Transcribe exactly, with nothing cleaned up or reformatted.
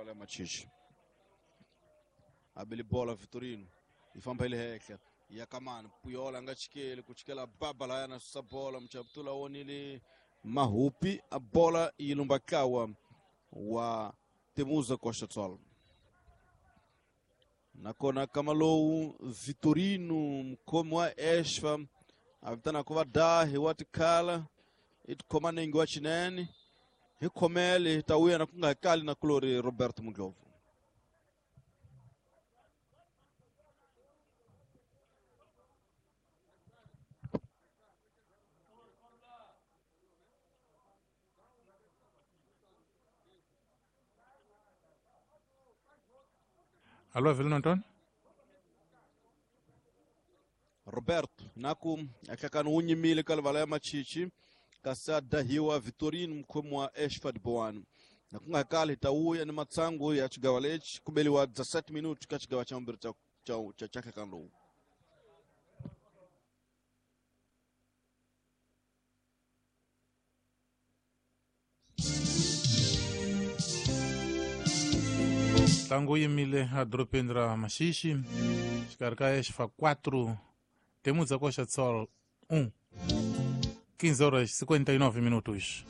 ya Machichi. Abeli bola Vitorino yi famba hi le henhla ya kamani Puyola a nga chikeli ku chikela baba laya na susa bola Muchabutula wonile Mahupi a bola yi lumba ntlawa wa Temuza Costa Sol. Nakona kama lowu Vitorino mukhomi wa Esfa a vitanaka vadahi wa tikhala i tikhoma nenge wa xinene hi khomele hi ta vuya na ku nga kali na kulori Roberto Mudlovu. Alô, Avelino Antônio? Roberto naku ahlakani wu nyimile ka livala ya Machichi kasi a dahiwa Vitorino mukhomi wa Esfa de Boano. Na ku nga kali hi ta vuya ni matsangu ya xigawa lexi ku beliwa dezessete minutos ka xigawa xa vumbirhi xa xa xa xa nhlekani lowu. Ntlangu wu yimile edorobeni ra Maxixi xikarhi ka Esfa quatro Temuza Costa Sol um quinze horas e cinquenta e nove minutos.